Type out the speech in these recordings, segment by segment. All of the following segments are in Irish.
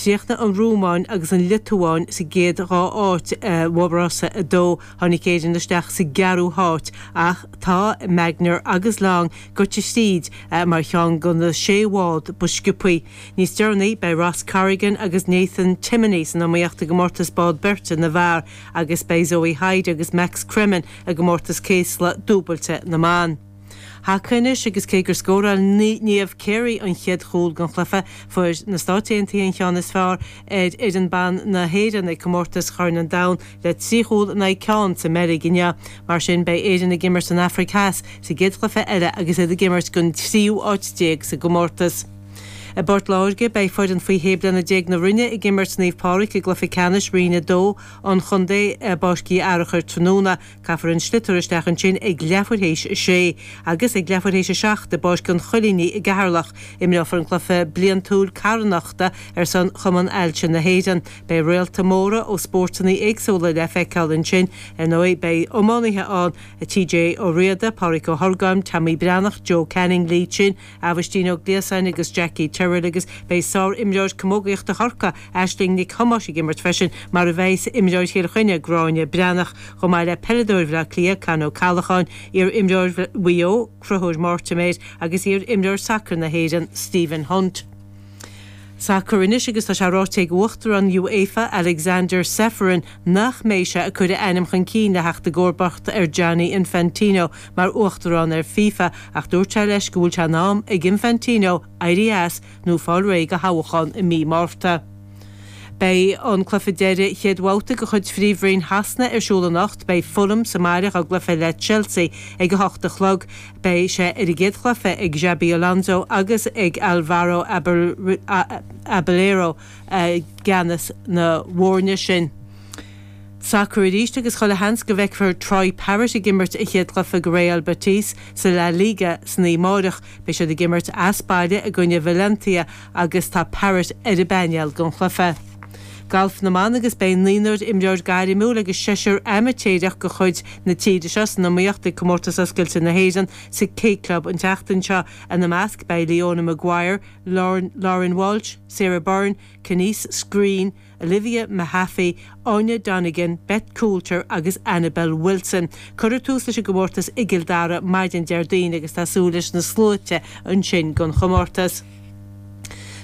Chríochnaigh an Rómáin agus an Liotuáin sa gcéad 2 áit i bhFo-Rása 2. Tháinig Éirinn isteach sa gceathrú háit ach tá Magnier agus Long gaibhte thríd mar cheann de na sé bhád ba sciobthaí. Níos deireanaí beidh Ross Corrigan agus Nathan Timoney san iomaíocht i gcomórtas bád beirte na bhfear agus beidh Zoe Hyde agus Max Cremin i gcomórtas céasla dúbailte na mban. Haca anois agus cé gur scóráil Niamh Carey an chéad chúl den chluiche, fuair na Stáit Aontaithe an cheann is fearr ar fhoireann ban na hÉireann ag comórtas Chorn an Domhain le 3 chúl in aghaidh ceann sa mBeilg inniu. Mar sin beidh Éirinn ag imirt an Afraic Theas sa gcéad chluiche eile agus iad ag imirt don tríú áit déag sa gcomórtas. I bPort Láirge beidh foireann faoi shé bliana déag na Rinne ag imirt Naomh Pádraig i gcluiche ceannais Roinn 2 an chontae i bPáirc Uí Fhearachair tráthnóna. Caithfear an sliotar isteach ansin ag leathuair théis a sé agus ag leathuair théis a 7 i bPáirc an Choilínigh i gCeatharlach. Imreofar an cluiche bliantúil carthanachta ar son Chumann Ailse na hÉireann. Beidh réalta móra ó spórtanna éagsúla le feiceáil ansin. Ar ndóigh beidh iománaithe ann, TJ Ó Riada, Pádraic Ó hOrgáin, Tommy Breathnach, Joe Canning, Lee Chin, Aibhistín Ó Gliasáin agus Jackie Tyrrell agus beidh sár-imreoir camógaíochta Chorcaí, Aisling Nic Thomáis ag imirt freisin, mar a bheas imreoir Chill Chainnigh, Gráinne Breathnach, chomh maith le peileadóir Bhaile Átha Cliath, Con Ó Callacháin, iar-imreoir Mhaigh Eo, Conchúr Mortimer agus iar-imreoir sacair na hÉireann, Stephen Hunt. Sacar anois agus tá sé ráite ag Uachtarán UEFA, Alexander Ceferin, nach mbeidh sé ag cur a ainm chun cinn le theacht i gcomharbacht ar Gianni Infantino mar Uachtarán ar FIFA ach dúirt sé leis go bhfuil sé in am ag Infantino éirí as nó fáil réidh do thoghchán i mí Márta. Beidh an cluiche deiridh chéad bhabhta de chuid Phríomhroinn Shasana ar siúl anocht. Beidh Fulham sa mbaile dá gcluiche le Chelsea ag 8 a chlog. Beidh sé ar an gcéad chluiche ag Xabi Alonso agus ag Alvaro Arbeloa i gceannas na bhfoirne sin. Sacar arís agus chuile sheans go bhfeicfear Troy Parrott ag imirt a chéad chluiche do Real Betis sa La Liga san oíche amárach. Beidh siad ag imirt as baile i gcoinne Valencia agus tá Parrott ar an bpainéal don chluiche. Galf na mban agus beidh naonúr imreoir gairmiúil agus seisear amaitéarach de chuid na tíre seo san iomaíocht ag Comórtas Oscailte na hÉireann sa K Club an tseachtain seo. Ina measc beidh Leona Maguire, Lauren Walsh, Sarah Byrne, Canice Screen, Olivia Mehaffey, Áine Donegan, Beth Coulter agus Annabel Wilson. Cuirfear tús leis an gcomórtas i gCill Dara maidin Déardaoin agus tá súil leis na sluaite ansin don chomórtas.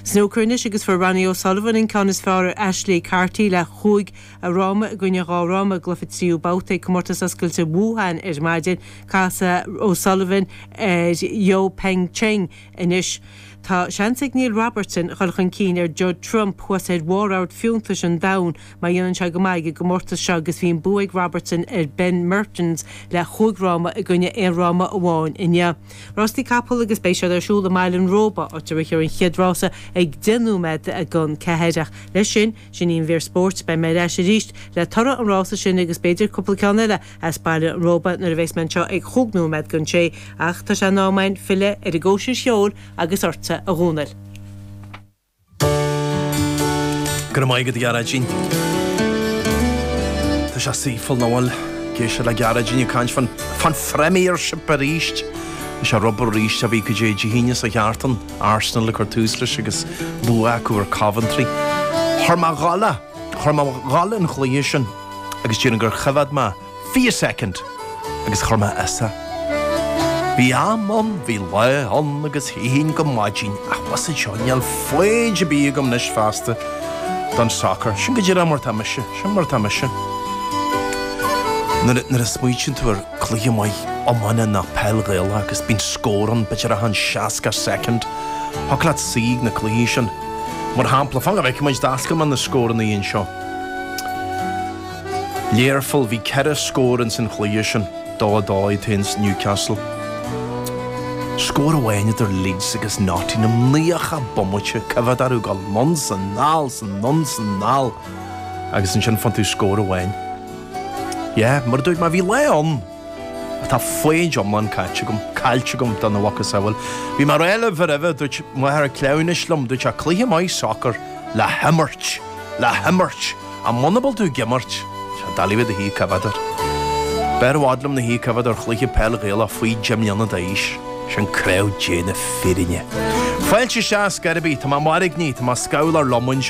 Snúcar anois agus fuair Ronnie O'Sullivan an ceann is fearr ar Ashley Carty le chúig fhráma i gcoinne dhá fhráma i gcluiche tríú babhta ag Comórtas Oscailte Wuhan ar maidin. Casfaidh O'Sullivan ar Yeo Peng Cheng anois. Tá seans ag Neil Robertson a dhul chun cinn ar Judd Trump thuas ar bharr ard fiúntais an domhain má dhéanann sé go maith ag an gcomórtas seo agus bhí an bua ag Robertson ar Ben Mertens le chúig fhráma i gcoinne aon fhráma amháin inniu. Rástaí capall agus beidh siad ar siúl i mBaile an Róba, áit a rithfear an chéad rása ag 10 nóiméad don 4. Ach leis sin, sin í an mhír spóirt. Beidh mé ar ais arís le toradh an rása sin agus b'fhéidir cúpla ceann eile as Baile an Róba nuair a bheas mé anseo ag chúig nóiméad don sé. Ach tá sé in am againn filleadh ar an gcóisir cheoil agus ortsa, a Dhónaill. Go raibh maith agat, a Ghearóidín. Tá sé saoithiúil, nach bhfuil? Ag éisteacht le Gearóidín ag caint fán, fán Phréimírship arís. Tá sé ar obair arís, a bhí go dtí Dé hAoine sa cheártan, Arsenal ag cur tús leis agus bua acu ar Coventry. Chuir mé a dhul é, chuir mé a dhul an chluiche sin agus déarfainn gur choimhéad mé 20 soicind agus chuir mé as é. Bhí am ann, bhí lá ann agus shuífinn go maidin ach bhfuil fhios agat seo, níl foighid ar bith agam anois feasta don soccer. Sin go díreach mar atá mise, sin mar atá mise. Nuair a smaoitíonn tú ar cluiche maith iomána nó peil Ghaelach agus bíonn scór ann, b'fhéidir achan 60 soicind, thiocfadh leat suí ag na cluichí sin. Mar shampla, fan go bhfeicfidh muid, d'oscail mé na scóranna anseo. Learpholl, bhí 4 scór ins an chluiche sin, 2 2 iad féin 's Newcastle. Scór amháin idir Leeds agus Nottingham, 90 bomaite, coimhéad orthu ag dul anonn 's anall 's anonn 's anall agus ansin faigheann tú scór amháin. Yeah, mar a dúirt mé, bhí lá ann atá foighid iomlán caite agam, caillte agam dona mhacasamhail. Bhí mé ag rá libh roimhe, dúirt máthair cleamhnais liom, dúirt sé cluiche maith sacair le himirt, le himirt, ach muna bhfuil tú ag imirt, tá sé doiligh bheith i do shuí ag coimhéad air. B'fhearr i bhfad liom na shuí ag coimhéad ar chluiche peil Ghaelach faoi 10 mbliana d'aois, sin craobh Dé na fírinne. Fáilte isteach ar scor ar bith, tá mé mairgní, tá mé scamhal ar lomáint.